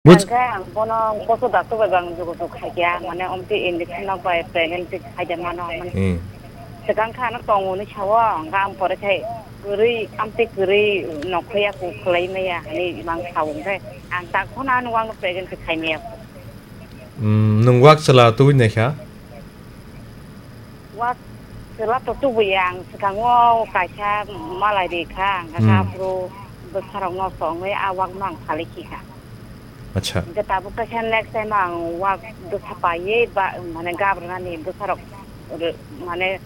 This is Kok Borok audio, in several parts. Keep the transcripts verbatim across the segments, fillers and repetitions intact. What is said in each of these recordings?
Buj- Hingke ang bono poso doctor bai bang jogojog khaikha, mane omtwi injection rok bai pregnancy khaida mano, mane Hmm. Swkang kha ano tongo hinwi sao, hingke ang pore khai kwrwi, amtwi kwrwi nokhoya ku khwlai maya hinwi mang sao, hingke ang tak phano ano wngno pregnancy khai maya. Hmm, nwng wak chwla tubui naikha? Wak chwla to tubuya, ang swkango kaisa malai ri kha, ang kha Hmm. aphuru bwsarokno songwi a wakno ang salai khi kha. Acha. Hingke tabuk kaisa next time ang wak bwsa paiwi ba, mane gabranani bwsarok re-, mane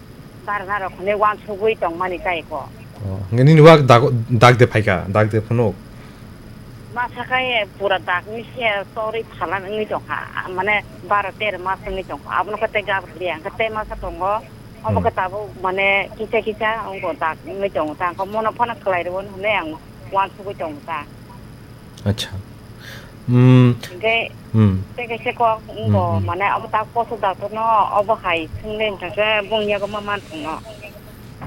barnarok hinwi wansugwi tongmani tai ko. Oh, hingke nini wak dag, dag de phaikha, dag de phunuk? Masa khe pura dagni se torwi phalan wngwi tongkha, mane baro tero mas wngwi tongkha, abono khe tei gabra liya, hwnkhe tei masa tongo, obo Hmm. khe tabuk mane kisa kisa wngkha dag wngwi tongo ta, hwnkhe mono phano khlai rwo hinwi ang wansugwi tongo ta. Acha. Hmm. Hwnkhe Hmm. tei kaisa kok wngkha, Hmm, hmm. Mane obo ta poso doctor no obo hai swngde wngkha khe bung yago ma man thangno.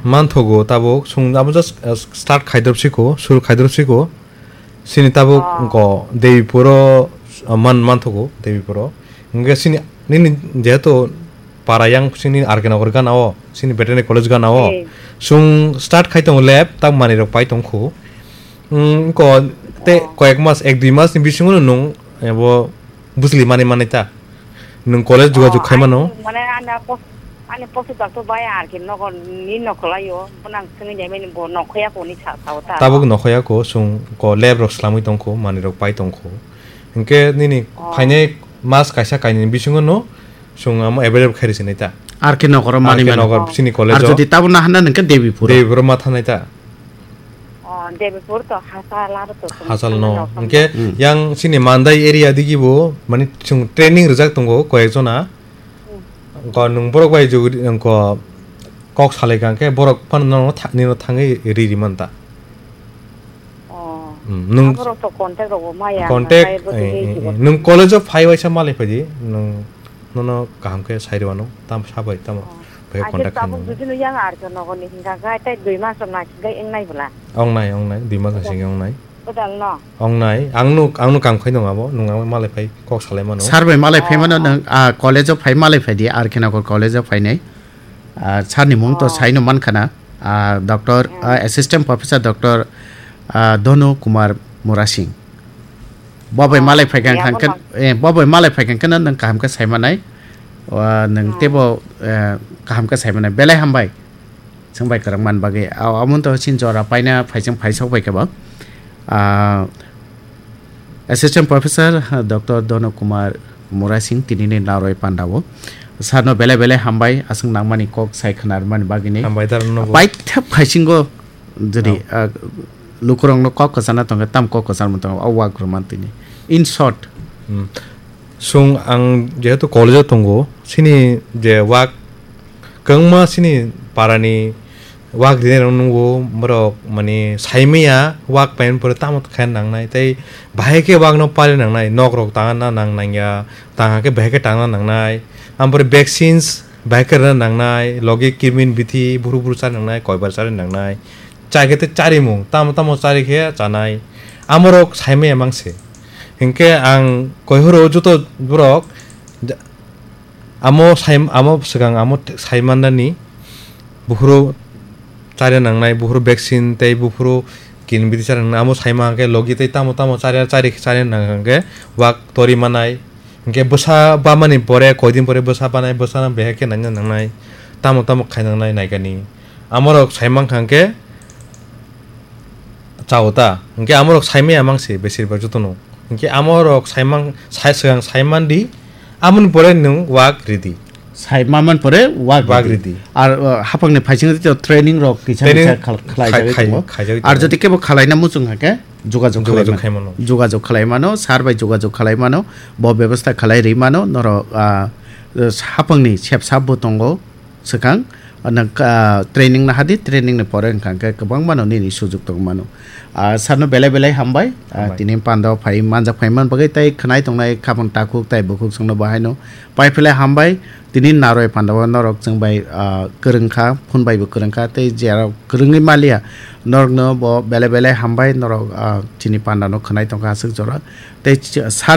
Manthogo tabuk, chwng abo just, uh, start khaidrop siko, suru khaidrop siko. Chini tabuk Oh. Wngkha Debipuro, uh, man, manthogo Debipuro. Hingke chini, nini jehetu para yang chini R K Nagar gana o, chini veterinary college gana o. Eh. Chwng start khai tongo lab, tak manwi rok pai tongkhu. Wngkha te Oh. Koyek mas, ek dui mas ni bisingo nwng abo bujli mani mani ta. Nwng college jogajog Oh, khai mano? Ani, mane, ani pos-, ani poso doctor bai R K Nagar ni nokolaio, bo nang swngwi naimani bo nokhoya koni sa, sao ta. Tabuk nokhoya ko, chwng ko lab rok swlamwi tongkho, manwi rok pai tongkho. Hinkhe nini Oh. Phainai mas kaisa kainwi bisingo no chwng amo available khai rwsinai ta. R K Nagar o mani R K mano. Nagar Oh. Chini college Ar o. Jodi tabuk naharna nangkhe Debipur o. Debipur o ma thanai ta. Oh, Debipur to Hasal aro to Hasal no. Hinkhe Hmm. Yang chini Mandai area digi bo mani chwng training rijak tongo koyek jona. Hmm. Ko nwng borok bai jugudi ko kok salai kha khe borok phano no tha-, nino thangwi ri ri man ta. Oh. Hmm, nwng Aborok to contact rok bo maya, contact, hwnkhai bo eh, tini eh, eh. Nwng college o phai waisa malai phaidi, nwng nono kaham khe sai rwano, tam sabai tamo. Oh. Phai Aje contact tabuk khaino. Jodi no yang R K Nagar ni hingka khe, tei dui mas rok naisingkhe wngnai bwla. Wngnai, wngnai, dui mas naisingkhe wngnai. Kwtal no? Wngnai, ang nuk, ang nuk kam khai nung abo, nung ang malai phai kok salai mano. Sir bai malai phai mano. Oh, oh. Nwng, ah, college o phai malai phai di, R K Nagar college o phainai. Ah, sir ni mung to Oh. Sai no man khana. Ah, doctor, Hmm. Ah, Assistant Professor Doctor, ah, Donu Kumar Murasing. Bo bai Oh, malai phai kha ya, hang khe, bono. Eh, bo bai malai phai kha hang khe nwng kaham khe sai manai. Ah, nwng Hmm. Teibo, eh, kaham khe sai manai. Belai hambai. Chwng bai kwrwng man bagwi. Ah, omo to chin jora paina phai chwng phai sok bai khe bo. Ah, Assistant Professor, ah, Doctor Donu Kumar Murasing tinini naroi pandao. Sir no belai belai hambai, aswk nangmani kok sai khwna rwmani bagwini. Hambai da rwno bo. Paithak phaisingo jodi, Oh. Ah, lukurokno kok kwchana tongkhe, tam kok kwcharma tongo, o wak rwmani tini. In short. Hmm. Chwng ang jehetu college o tongo, chini je wak kwbangma chini parani wak rinai rok nungo, borok mani saimaya wak paimani pore tamo khe nangnai, tei bahai khe wakno pari nangnai, nok rok tangna nang nangya, tang khe bahai khe tangna nangnai, ampore vaccines bahai khe rwna nangnai, logi kirmin bithi buru buru chari nangnai, koibar chari nangnai, chai khe tei charimung, tamo tamo chari khe chanai, amorok saimaya mangse. Hinkhe ang koihoro joto borok, Amo sai, amo swkang amo sai mannani buphuru chari nangnai, buphuru vaccine tei buphuru kin bidi chari nangnai, amo sai mankhe logi tei tamo tamo chari chari chari nangkhe wak tori manai. Hinkhe bwsa bamani pore, koidin pore bwsa banai, bwsano behekhe naina nangnai, tamo tamo khai nangnai naikani. Amorok sai mankha hinkhe chao ta. Hinkhe amorok saimaya mangse besir bak jotono. Hinkhe amorok saimang, sai, swkang saimandi, amoni pore nwng wak ridi. Sai maman pore wak Wak ridi. Ridi. Ar, uh, hapangni phaising rito training rok kisa Training kisa khal-, khlai khai-, jagwi khai-, tongo. Khai jagwi Ar tongo. Jodi kebo khalaina muchung hake jogajog Jogajog khlai man-, khai mano. Jogajog khlai mano, sir bai jogajog khlai mano, bo bebostha khlai ri mano, norok, ah, hapangni sep sap bo tongo. Swkang, nang, ah, training nahadi, training ni pore wngkha hwnkhe kwbangma no nini sujuk tong mano. Ah, sir no belai belai hambai. Ah, Hambai. Tini panda o phai manjak phai man bagwi tei khwnai tongnai khabang takhuk tei bukhuk songno bo haino pai philai hambai. Tini naroi panda o norok chwng bai, ah, kwrwng kha, phone bai bo kwrwng kha tei jera kwrwngwi maliya norok no bo belai belai hambai norok, ah, chini panda no khwnai tongkha aswk jora tei ch-, sir ni